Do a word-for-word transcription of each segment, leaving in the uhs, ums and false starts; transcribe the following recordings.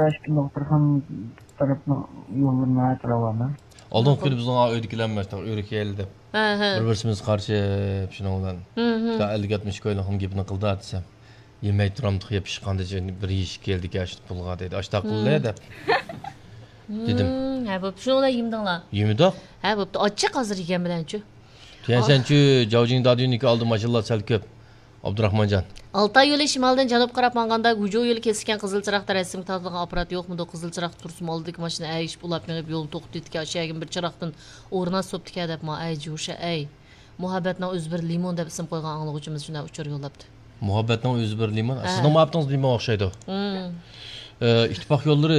ئىككى نۇقتىرخان تەرەپنىڭ يوللىرى ناھايىتى راۋان. ئالدىنقى كۈنى بىزنىڭ ئۆيدىكىلەرمۇ ئۆرۈك يەيلى دەپ، ھە، ھە، بىر بىرسىمىزگە قارىشىپ، شۇنىڭ بىلەن، ھە، ھە، ئەللىك ئاتمىش كويلۇقنىڭ گېپىنى قىلدى دېسەم، يېمەي تۇرامدۇق يە، پىشقاندا بىر يېيىش كېلىدىكەن، شۇ پۇلغا دېدى. ئاشتاق قىلدى دەپ دېدىم. ھە، بوپتۇ، شۇنىڭ بىلەن يېمىدىڭلار؟ يېمىدۇق. ھە، بوپتۇ، ئاچچىق ھازىر يېگەن بىلەنچۇ. تيەنشەنچۈ جاۋجىڭ دادۈننىكى ئالدى ماشىنىلار سەل كۆپ. ئابدۇراخمانجان. ئالتاي يولى شىمالدىن جەنۇبقا قاراپ ماڭغاندا، گۇجۇ يولى كېسىككەن قىزىل چىراغدا رەسىمگە تارتىلغان ئاپپارات يوقمىدۇ؟ قىزىل چىراغدا تۇرسىمۇ، ئالدىدىكى ماشىنا ئەگىشىپ ئۇلاپ مېڭىپ، يولنى توختىتىدىكەن، ئاشۇ يەرگىمۇ بىر چىراغدىن ئورۇن ئاسسوپتىكەن دەپمۇ، ئەي جۇشە، ئەي. مۇھەببەتنىڭ ئۆزى بىر لىمون دەپ ئىسىم قويغان ئاڭلىغۇچىمىز شۇنداق ئۇچۇر يوللاپتۇ. مۇھەببەتنىڭ ئۆزى بىر لىمون. ھە. سىزنىڭ مۇھەببىتىڭىز لىمونغا ئوخشايدۇ. ھىم. ئى، ئىتتىپاق يوللىرى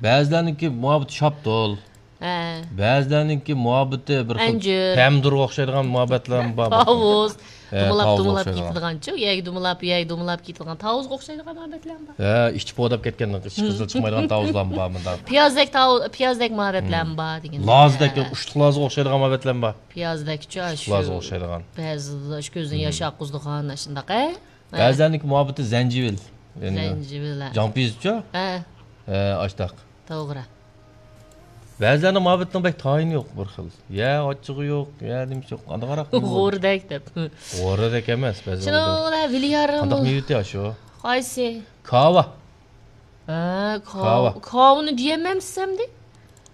بەزىلەرنىڭكى مۇھەببىتى شاپتۇل. ھە. بەزىلەرنىڭكى مۇھەببىتى بىر خىل ئەنجۈر. پەمىدۇرغا ئوخشايدىغان مۇھەببەتلەرمۇ بار. تاۋۇز. ھە، دومىلاپ، تاۋۇزغا دومىلاپ ئوخشايدىغان. كېتىدىغانچۇ. يەگە دومىلاپ، يەگە دومىلاپ كېتىدىغان. تاۋۇزغا ئوخشايدىغان مۇھەببەتلەرمۇ بار. ھە، ئىچى پوۋداپ كەتكەن، ئىچى قىزىل چىقمايدىغان تاۋۇزلارمۇ بار مۇنداق. پىيازدەك تاۋۇز، پىيازدەك مۇھەببەتلەرمۇ بار دېگىن. لازدەك، ھە. ئۇشتۇق لازغا ئوخشايدىغان مۇھەببەتلەرمۇ بار. پىيازدەكچۇ، ئۇشتۇق لازغا ئوخشايدىغان. بەزىدە ئاشۇ كۆزدىن ياش ئاققۇزىدىغان، ئاشۇنداق، ھە؟ ھە. بەزىلەرنىڭكى مۇھەببىتى زەنجىۋىل. يەنى زەنجىۋىل، ھە. جاڭپىيىزچۇ؟ ھە. ھە، ئاشتاق. توغرا. بەزىلەرنىڭ مۇھەببىتىنىڭ بەك تايىنى يوق بىر خىل. يا ئاچچىقى يوق، يا نېمىسى يوق. قانداق ئاراق؟ غورىدەك دەپ. غورىدەك ئەمەس، بەزى شۇنىڭ بىلەن ۋىليارىم. قانداق مېۋىتى شۇ؟ قايسى؟ كاۋا. ھە، كاۋا. كاۋا. كاۋىنى دېيەلمەمسىز ئەمدى؟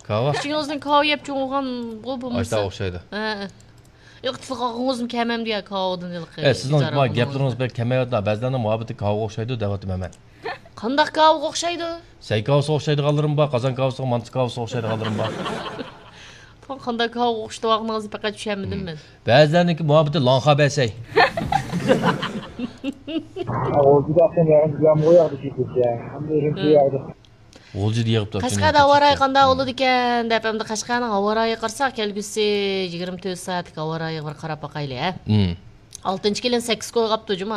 كاۋا. كىچىكىڭىزدىن كاۋا يەپ چوڭ بولغان بۇ بولمىسا. ئاشتا ئوخشايدۇ. ھە. ياق، تىلغا ئالغۇڭىزمۇ كەلمەمدۇ يا كاۋىدىن ھېلىقى. ئە، سىزنىڭ ما گەپلىرىڭىز بەك كەمەيۋاتىدۇ. بەزىلەرنىڭ مۇھەببىتى كاۋىغا ئوخشايدۇ دەۋاتىمەن مەن. قانداق كاۋىغا ئوخشايدۇ؟ سەي كاۋىسىغا ئوخشايدىغانلىرىمۇ بار، قازان كاۋىسىغا، مانتا كاۋىسىغا ئوخشايدىغانلىرىمۇ بار. قانداق كاۋىغا ئوخشىتىۋالغىنىڭىزنى پەقەت چۈشەنمىدىم مەن. بەزىلەرنىڭكى مۇھەببىتى لاڭخا بەسەي. ئاۋۇ جۈدە ئەقسەم ياغىچ بىلەن بۇ ياغدا كېتىدىكەن. ھەمدە ئۈرۈمچى ياغدا. غۇلجىدا يىغىپتۇ. قەشقەردە ھاۋا رايى قانداق بولىدىكەن دەپ، ئەمدى قەشقەرنىڭ ھاۋا رايىغا قارىساق، كەلگۈسى يىگىرمە تۆت سائەتلىك ھاۋا رايىغا بىر قاراپ باقايلى، ھە؟ مم. ئالتىنچى كېلىن سەككىز كويغا ئاپتۇ جۇمۇ،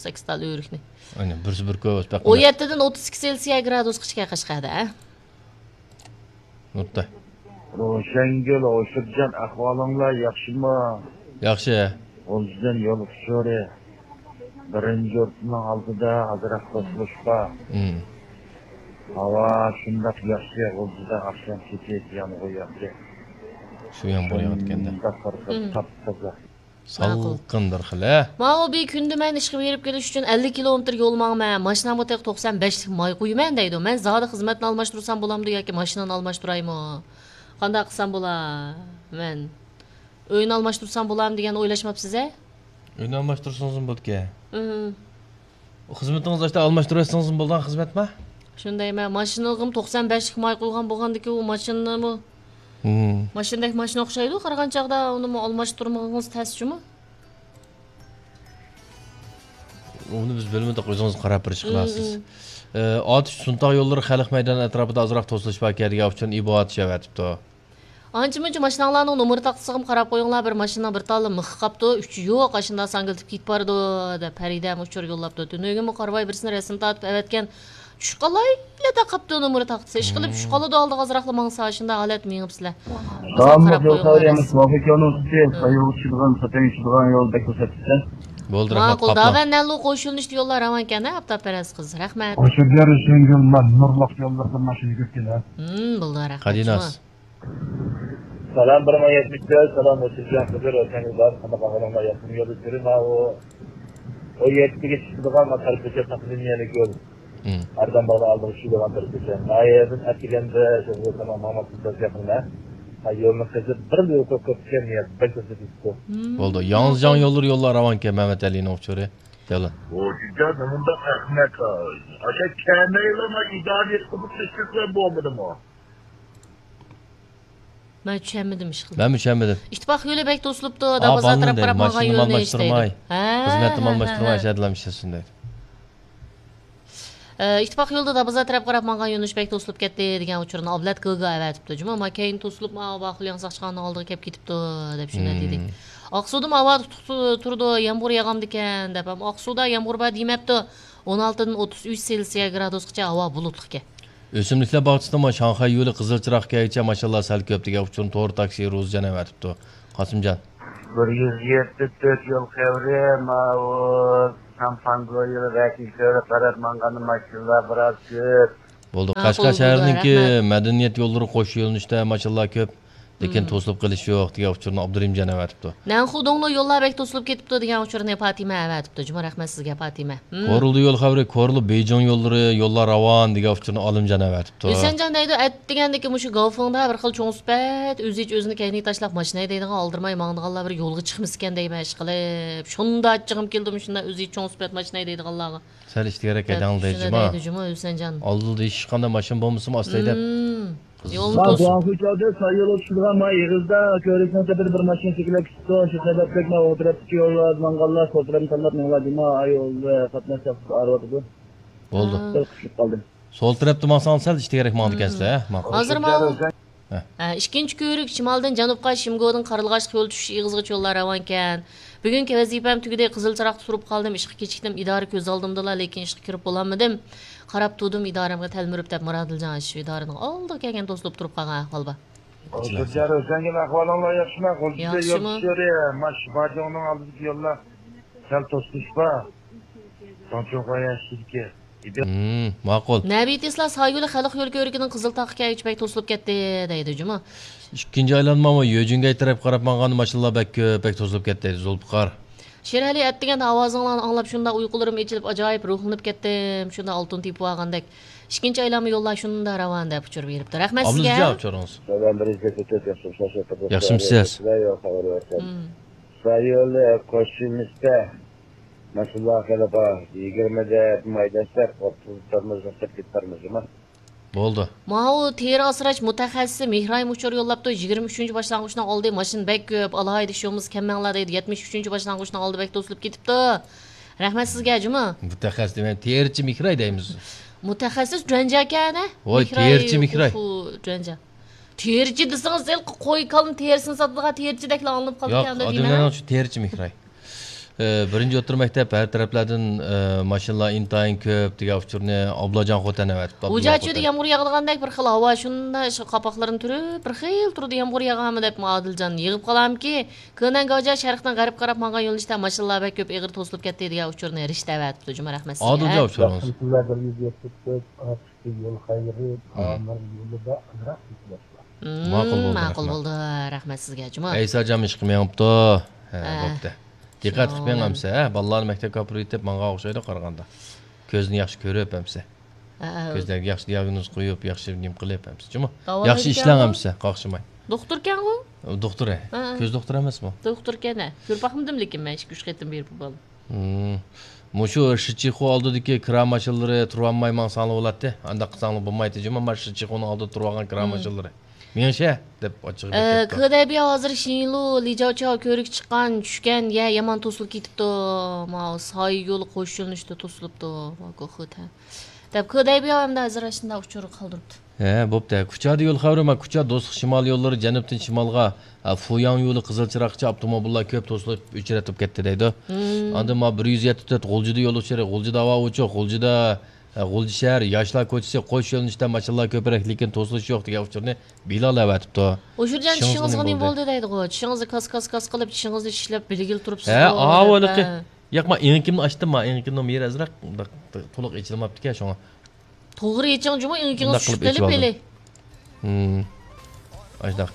سەككىز تال ئۆرۈكنى. ئاينى، بىرسى بىر كوي بولسا بەك ئون يەتتىدىن ئوتتۇز ئىككى سېلسىيە گرادۇسقىچە قەشقەردە، ھە؟ نۇرتاي. روشەنگۈل، ھوشۇرجان، ئەھۋالىڭلار ياخشىمۇ؟ ياخشى. غۇلجىدىن يول ئۇچۇرى. بىرىنچى يۇرتنىڭ ئالدىدا ئازراق توسۇلۇش بار. مم. ھاۋا شۇنداق ياخشى، غۇلجىدا ئاخشام كېچە يامغۇر ياغدى. شۇ يامغۇر ياغىدىكەن-دە. شۇنداق بىر خىل مم. تاپتازا. ماقۇل. سالقىن بىر خىل، ھە؟ ماۋۇ بىر كۈندە مەن ئىشقا بېرىپ كېلىش ئۈچۈن ئەللىك كىلومېتىر يول ماڭىمەن. ماشىنامغا تېخى توقسان بەشلىك ماي قۇيىمەن دەيدۇ. مەن زادى خىزمەتنى ئالماشتۇرسام بولامدۇ ياكى ماشىنىنى ئالماشتۇرايمۇ؟ قانداق قىلسام بولا؟ مەن ئۆينى ئالماشتۇرسام بولامدۇ دېگەننى ئويلاشماپسىز ھە؟ ئۆينى ئالماشتۇرسىڭىزمۇ بولىدىكەن. ئىم. خىزمىتىڭىز ئاشتا ئالماشتۇرۇۋەتسىڭىزمۇ بولىدىغان خىزمەتما؟ شۇندايمەن، ماشىنىغىمۇ توقسان بەشلىك ماي قۇيغان بولغاندىكىن، ئۇ ماشىنىمۇ، ھىم، ماشىنىدەك ماشىنا ئوخشايدۇ، قارىغان چاغدا ئۇنىمۇ ئالماشتۇرمىغىڭىز تەس جۇمۇ. ئۇنى بىز بىلمىدۇق، ئۆزىڭىز قاراپ بېرىش قىلارسىز. ھىم، ھىم. ئى، ئاتۇش سۇنتاغ يوللىرى خەلق مەيدانى ئەتراپىدا ئازراق توسۇلۇش باركەن دېگەن ئۇچۇن ئىبوئاتىش ئەۋەتىپتۇ. ئانچە-مۇنچە ماشىناڭلارنىڭ نومۇر تاختىسىغىمۇ قاراپ قويۇڭلار، بىر ماشىنىنىڭ بىر تاللا مىخى قاپتۇ، ئۈچى يوق، ئاشۇنداق ساڭگىلىتىپ كېتىپ بارىدۇ، دەپ پەرىدەمۇ ئۇچۇر يوللاپتۇ. تۈنۈگۈنمۇ قارىۋاي بىرسىنى رەسىم تارتىپ ئەۋەتكەن، چۈش قالايلا دەپ قاپتۇ نومۇر تاختىسى. ئىشقىلىپ چۈش قالىدۇ، ئالدىغا ئازراقلا ماڭسا، ئاشۇنداق ھالەتتە مېڭىپسىلەر. سالاملىق يول خەۋىرى ئەمەس، مۇۋاپىق يولنىڭ ئۈستى، سايىلغا چۈشىدىغان، ساتەنگە چۈشىدىغان يول بەك توساتتى. بولدى، رەھمەت، ماقۇل، قاپتۇ. داۋەن نەلۇ قوشۇلۇش يوللار راۋانكەن ھە، ئاپتاپپەرەس قىز. رەھمەت. قوشۇپ بېرىش يەڭگىل، مەن نۇرلۇق يوللىرىدا ماشىنا يۈگۈرتكىنە. ھىم، بولدى، رەھمەت. قادىناس. سالام، بىر مىڭ يەتمىش تۆت، سالام، ئوتتۇز جان قىزى، روشەنگۈل بار، قانداق ئەھۋالىڭلار، ياخشىمۇ يولدىشلىرىم؟ ماۋۇ ئون يەتتىگە چىقىدىغان ما تەربىيەچى تەقدىمىيەلىك يول. ھىم. ئاردەم باغنى ئالدىغا چۈشىدىغان تەربىيەچى. ناھىيەدىن ئەتىگەندە شۇ تامام مامات سىزدە يېقىندا. ھا، يولنى قېزىپ، بىر يول كۆپ كەتكەن، يا، بەك كۆپ كېتىپتۇ. ھىم. بولدى. ياڭزىجاڭ يوللىرى يوللار راۋانكەن، مەمەت ئەلىنىڭ ئۇچۇرى. دەۋلان. بۇ جىددىي نېمانداق ئەخمەق، ئاشا كەمەيلىما ئىدارە قىلىپ تۇرسا بولمىدىمۇ؟ مەن چۈشەنمىدىم ئىشقىلىپ. مەنمۇ چۈشەنمىدىم. ئىتتىپاق يولى بەك توسۇلۇپتۇ، دابازار تەرەپ قاراپ ماڭغان يۆنىلىش دەيدۇ. ھە، ئىتتىپاق يولىدا دابازار تەرەپ قاراپ ماڭغان يۆنىلىش دەيدۇ. ئە، ئىتتىپاق يولىدا دابازار تەرەپ قاراپ ماڭغان يۆنىلىش بەك توسۇلۇپ كەتتى دېگەن ئۇچۇرنى ئابلەت گىلگا ئەۋەتىپتۇ. جۇمۇ، ما كەينى توسۇلۇپ، ما باخۇل ياڭساق چىققان ئالدىغا كەپ كېتىپتۇ، دەپ شۇنداق دېدى. ھىم. ئاقسۇدىمۇ ھاۋا تۇتۇق تۇرىدۇ، يامغۇر ياغامدىكەن، دەپ. ئەمما ئاقسۇدا يامغۇر بار دېمەپتۇ. ئون ئالتىدىن ئوتتۇز ئۈچ سېلسىيە گرادۇسقىچە ھاۋا بۇلۇتلۇقكەن. ئۆسۈملۈكلەر باغچىسىدىمۇ شاڭخەي يولى قىزىل چىراغ كەيگىچە ماشىنىلار سەل كۆپ دېگەن ئۇچۇرنى تور تاكسى روزىجان ئەۋەتىپتۇ. قاسىمجان. بىر يۈز يەتتە تۆت يول خەۋىرى، ماۋۇ سامپانگو يولى ۋەكىل كۆۋرۈك قاراپ ماڭغاندا ماشىنىلار بىراز كۆپ. بولدى. ھە، قەشقەر شەھىرىنىڭكى مەدەنىيەت يوللىرى قوش يۆنىلىشتە ماشىنىلار كۆپ، لېكىن توسۇلۇپ قېلىش يوق دېگەن ئۇچۇرنى ئابدۇرېھىم جان ئەۋەتىپتۇ. نەنخۇدۇڭلۇ يوللار بەك توسۇلۇپ كېتىپتۇ دېگەن ئۇچۇرنى پاتىمە ئەۋەتىپتۇ. جۇمۇ، رەھمەت سىزگە، پاتىمە. كورلىدا يول خەۋىرى، كورلا بېيجىڭ يوللىرى، يوللار راۋان دېگەن ئۇچۇرنى ئالىمجان ئەۋەتىپتۇ. ھۈسەنجان دەيدۇ، ئەتىگەندىكى مۇشۇ گاۋفېڭدا بىر خىل چوڭ سۈپەت، ئۆزىچە ئۆزىنى كەينىگە تاشلاپ ماشىنا ھەيدەيدىغان، ئالدىرماي ماڭىدىغانلار بىر يولغا چىقمىسىكەن دەيمەن ئىشقىلىپ. شۇنداق ئاچچىقىم كېلىدۇ مۇشۇنداق ئۆزىچە چوڭ سۈپەت ماشىنا ھەيدەيدىغانلارغا. سەل ئىشتىكرەك ھەيدەڭ دەيدۇ جۇما. ھۈسەنجان. ئالدىدا ھېچقانداق ماشىنا بولمىسىمۇ ئاستا ھەيدەپ. مم. يولنى مانا توسۇپ. گۇاڭخۇي چاۋدى ساي يولىغا چۈشىدىغان ما ئېغىزدا كۆۋرۈكنىڭ تېپىدا بىر ماشىنا سېكىلىپ كېتىپتۇ. شۇ سەۋەبلىك ما ئوڭ تەرەپتىكى يوللاردا ماڭغانلار سول تەرەپنى تاللاپ مېڭىۋالدى. ما يول قاتناش ئاغرىۋاتىدۇ. بولدى. ھا. بىر قىسىلىپ قالدى. سول تەرەپتە ماڭساڭ سەل ئىشتىكرەك ماڭىدىكەنسىلەر، ھە؟ ماقۇل. ھازىر ماڭ. ھە. ھە، ئىككىنچى كۆۋرۈك شىمالدىن جەنۇبقا شىمگودىن قارلىغاچلىق يول چۈشۈش ئېغىزىغىچە يوللار راۋانكەن. بۈگۈنكى ۋەزىپەم تۈگىدى، قىزىل چىراغدا تۇرۇپ قالدىم، ئىشقا كېچىكتىم، ئىدارە كۆز ئالدىمدىلا، لېكىن ئىشقا كىرىپ بولالمىدىم. قاراپ تۇردۇم ئىدارەمگە تەلمۈرۈپ دەپ مۇرادىلجان شۇ ئىدارىنىڭ ئالدىغا كەلگەن توسۇلۇپ تۇرۇپ قالغان ئەھۋال بار. ھوججارو، سەنگىن ئەھۋالىڭلار ياخشىما؟ غۇلجىدا يول ياخشىمۇ؟ چۈشۈرى، ماش باجوڭنىڭ ئالدىدىكى يوللار سەل توسۇلۇش بار. داڭچۇڭخۇا يەنشىدىكى. ھىم، ماقۇل. نەبىتى ئىسلا سايولى خەلق يول كۆۋرۈكىنىڭ قىزىل تاغقا كەلگۈچە بەك توسۇلۇپ كەتتى، دەيدۇ جۇمۇ. ئىككىنچى ئايلانمامۇ يۆجۈنگەي تەرەپكە قاراپ ماڭغان ماشىنىلار بەك كۆپ، بەك توسۇلۇپ كەتتى، دەيدۇ زۇلپىقار. شېرئەلى، ئەتىگەن ئاۋازىڭلارنى ئاڭلاپ شۇنداق ئۇيقۇلىرىم ئېچىلىپ ئاجايىپ روھلىنىپ كەتتىم، شۇنداق ئالتۇن تېپىۋالغاندەك. ئىككىنچى ئايلانما يوللار شۇنداق راۋان دەپ ئۇچۇر بېرىپتۇ. رەھمەت سىزگە. ئابلىزجان ئۇچۇرىڭىز. سالام، بىرىنچى كەچتە ياخشىمۇ؟ ياخشىمۇسىز؟ ھىم. سايولى قوشۇلمىسىدا ماشىنىلار خېلى بار. يىگىرمە دەپ مايداشلار ئوتتۇز تارمىز، توقسان كېتىپ بارمىز جۇما. بولدى. ماۋۇ تېرە ئاسراش مۇتەخەسسىسى مېھرايىم ئۇچۇر يوللاپتۇ. يىگىرمە ئۈچىنچى باشلانغۇچنىڭ ئالدى ماشىنا بەك كۆپ. ئالاھىدە ئىش بولمىسا كەم ماڭىلا دەيدۇ. يەتمىش ئۈچىنچى باشلانغۇچنىڭ ئالدى بەك توسۇلۇپ كېتىپتۇ. رەھمەت سىزگە جۇما. مۇتەخەسسىس دېمەي، تېرىچى مېھراي دەيمىز. مۇتەخەسسىس جۇەنجاكەنە. ۋاي، مېھراي، تېرىچى مېھراي. ئۇخۇ، جۇەنجا. تېرىچى دېسىڭىز، ھېلىقى قوي كالىنى تېرىسىنى ساتىدىغان تېرىچىدەكلا ئاڭلىنىپ قالىدىكەن دەيمەن. ياق، ئادەملەرنىڭ شۇ تېرىچى مېھراي. ئى، بىرىنچى ئوتتۇرا مەكتەپ ھەر تەرەپلەردىن، ئى، ماشىنىلار ئىنتايىن كۆپ دېگەن ئۇچۇرنى ئابلاجان خوتەن ئەۋەتىپتۇ. ئۇجاچۈدە يامغۇر ياغىدىغاندەك بىر خىل ھاۋا، شۇنداق شۇ قاپاقلىرىنى تۈرۈپ، بىر خىل تۇرىدۇ، يامغۇر ياغامۇ دەپ ئادىلجان يىغىپ قالامكى. كېنەن گاۋجا شەرقتىن غەربكە قاراپ ماڭغان يۆنىلىشتە ماشىنىلار بەك كۆپ، ئېغىر توسۇلۇپ كەتتى دېگەن ئۇچۇرنى رىشتە ئەۋەتىپتۇ جۇما. رەھمەت سىزگە. ئادىلجان ئۇچۇرىڭىز. ياخشىمۇسىلەر، بىر يۈز يەتمىش تۆت، ئاپتىكى يول خەيرى، ئامىر يولىدا ئازراق كېسىلىشلەر. ماقۇل بولدى، ماقۇل رەھمەت. بولدى. رەھمەت سىزگە جۇما. ئەيساجان ئىشقا مېڭىپتۇ. ھە، ھە. بوپتۇ. دىققەت قىلىپ مېڭەمسە، ھە؟ بالىلارنى مەكتەپكە ئاپىرىۋېتىپ ماڭغان ئوخشايدۇ قارىغاندا. كۆزنى ياخشى كۆرۈپ ئەمسە. ھە، ھە. كۆزلەرگە ياخشى دىياگنوز قويۇپ، ياخشى نېمە قىلىپ ئەمسە. جۇما. ياخشى ئىشلەڭ ئەمسە، قاقشىماي. دوختۇركەنغۇ؟ دوختۇر، ھە. ھە، ھە. كۆز دوختۇرى ئەمەسمۇ؟ دوختۇركەن، ھە. كۆرۈپ باقمىدىم لېكىن مەن ئىككى، ئۈچ قېتىم بېرىپ بۇ بالىنى. ھىم. مۇشۇ شىچىخۇ ئالدىدىكى كىرا ماشىنىلىرى تۇرۇۋالماي ماڭساڭلار بولاتتى. ئانداق قىلساڭلار بولمايتتى جۇما، مانا شىچىخۇنىڭ ئالدىدا تۇرۇۋالغان كىرا ماشىنىلىرى. مېڭىشە دەپ ئاچچىقى ئە، كېلىپتۇ. كېدەيبىيا ھازىر شىنلۇ، لىجاۋچاۋ كۆۋرۈككە چىققان، چۈشكەن، يە يامان توسۇلۇپ كېتىپتۇ. ماۋۇ ساي يولى قوش يۆنىلىشتە توسۇلۇپتۇ. ماۋۇ گوخۇت، ھە. دەپ كېدەيبىيا ئەمدى ھازىر ئاشۇنداق ئۇچۇر قالدۇرۇپتۇ. ھە، بوپتۇ. كۇچادا يول خەۋىرى، ما، كۇچا دوستلۇق شىمال يوللىرى جەنۇبتىن شىمالغا، ھە، فۇياڭ يولى قىزىل چىراغقىچە ئاپتوموبىللار كۆپ توسۇلۇپ ئۆچرەتلىپ كەتتى دەيدۇ. ھىم. ئاندىن ما بىر يۈز يەتتە تۆت غۇلجىدا يول ئۇچۇرى، غۇلجىدا ھاۋا ئوچۇق، غۇلجىدا، ھە، غۇلجا شەھەر، ياشلار كوچىسى، قوش يۆنىلىشتە ماشىنىلار كۆپرەك، لېكىن توسۇلۇش يوق دېگەن ئۇچۇرنى بىلال ئەۋەتىپتۇ. ئۇچۇرجان، چىشىڭىزغا نېمە بولدى دەيدىغۇ. چىشىڭىزنى كاس، كاس، كاس قىلىپ، چىشىڭىزنى چىشلەپ، بىلگىلى تۇرۇپسىز. ھە، ئاۋۇ ھېلىقى. ياق، ما ئېڭىكىمنى ئاچتىم، ما ئېڭىكىمنىڭ يېرى ئازراق مۇنداق تولۇق ئېچىلماپتىكەن، شۇڭا. توغرا ئېچىڭ جۇمۇ، ئېڭىكىڭىز چۈشۈپ قېلىپ ھېلى. ھىم. ئاشۇنداق.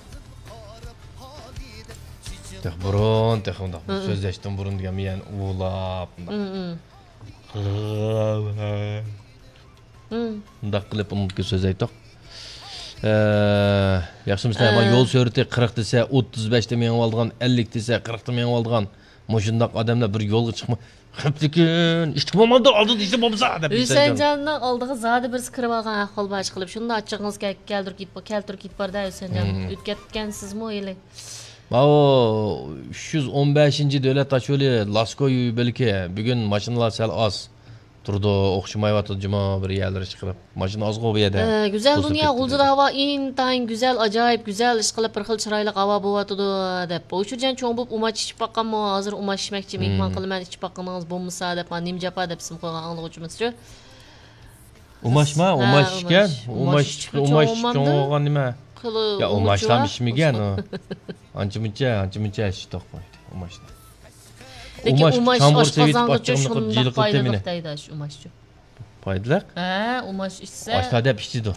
تېخى بۇرۇن، تېخى مۇنداق سۆزلەشتىن بۇرۇن دېگەن مېيەن ئۇۋۇلاپ مۇنداق. ھىم، ھىم. ھىم. مۇنداق قىلىپ ئۇنىڭدىكى سۆزلەيتتۇق. ئە، ياخشىمۇسىلەر؟ ئە. يول سۈرئىتى قىرىق دېسە، ئوتتۇز بەشتە مېڭىۋالىدىغان، ئەللىك دېسە، قىرىقتا مېڭىۋالىدىغان مۇشۇنداق ئادەملەر بىر يولغا چىقما-، قېپتىكىن، ئىشتىك بولمامدۇ، ئالدىدا ئىشتىك بولمىسا دەپ. ھۈسەنجاننىڭ ئالدىغا زادى بىرسى كىرىۋالغان ئەھۋال بار ئىشقىلىپ، شۇنداق ئاچچىقىڭىز كەل-، كەلتۈرۈپ كېتىپ، كەلتۈرۈپ كېتىپ بار-دە، ھۈسەنجان. ھىم. ئۆتۈپ كەتكەنسىزمۇ ھېلى؟ ماۋۇ ئۈچ يۈز ئون بەشىنچى دۆلەت تاشيولى لاسكو يول بۆلىكى. بۈگۈن ماشىنىلار سەل ئاز تۇرىدۇ، ئوخشىمايۋاتىدۇ جۇمۇ بىر يەرلىرى ئىشقىلىپ. ماشىنا ئازغۇ بۇ يەردە. ئە، گۈزەل دۇنيا، غۇلجىدا ھاۋا ئىنتايىن گۈزەل، ئاجايىپ گۈزەل، ئىشقىلىپ بىر خىل چىرايلىق ھاۋا بولۇۋاتىدۇ، دەپ. ئۇچۇرجان، چوڭ بولۇپ ئۇماچ ئىچىپ باققانمۇ؟ ھازىر ئۇماچ ئىچمەكچى، مېھمان قىلىمەن، ئىچىپ باققىنىڭىز بولمىسا، دەپ، مانا نېمە جاپا دەپ ئىسىم قويغان ئاڭلىغۇچىمىزچۇ. ئۇماچما؟ ھە، ئۇماچ ئىكەن. ئۇماچ، ئۇماچ چوڭ بولغان نېمە؟ يا، ئۇماچلام ئىچمىگەن ئۇ. ئانچە مۇنچە، ئانچە مۇنچە ئىچتۇق ئۇماچنى. لېكىن ئۇماچ ئاشقازانغىچۇ شۇنداق پايدىلىق دەيدۇ ئۇماچچۇ. پايدىلىق. ھە، ئۇماش ئىچسە. ئاشلار دەپ ئىچىدۇ.